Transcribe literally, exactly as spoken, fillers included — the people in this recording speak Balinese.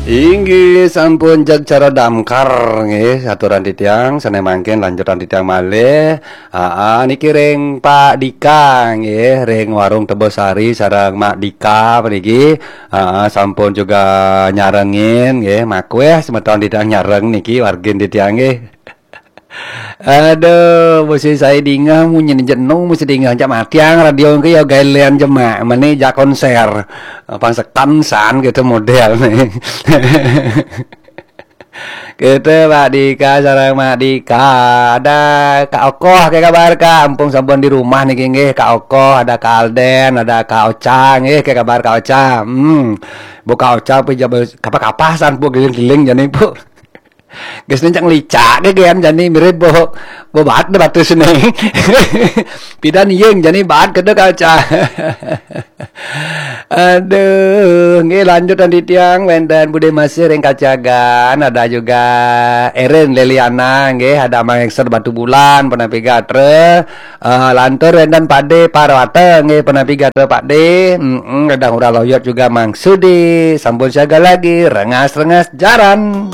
Inggih sampun jag cara damkar nggih, aturan titiang, sané mangkin lanjutan titiang malih. Aa, niki ring Pak Dika nggih, ring Warung Tebosari sareng Mak Dika puniki. Aa, sampun juga nyarengin nggih, makweh semeton titiang nyareng niki wargin titiang nggih. Aduh, mesti saya dingah munyi jenung, mesti dingah jak matiang radio ke ya gailean jemak, meni jak konser. Pang sekan san gitu model nih. Gitu, Pak Dika sareng Mak Dika. Ada Kak Okoh, ke kabar Kak? Ampun sampun di rumah niki nggih, Kak Okoh, ada Kak Alden, ada Kak Ocha nggih, ke kabar Kak Ocha? Hmm. Bu Kak Ocha apa jaba kapa-kapa san Bu giling-giling jani Bu. Geus nih cang licak ke gen jani mirip Bu. Bu baat deh batu sini. Pidan iyeng jani baat kedek Kak Ocha. Aduh, nggih lanjut nanti tiang wénten Bude Masih ring Kacagan, ada juga Erin Leliana nggih, ada Mang Ekser Batu Bulan penapi gatra. Eh, lantur wénten Pade Parwata nggih penapi gatra Pade. Mm-mm, ada Ngurah Loyot juga Mang Sudi. Sampun siaga lagi, rengas-rengas jaran.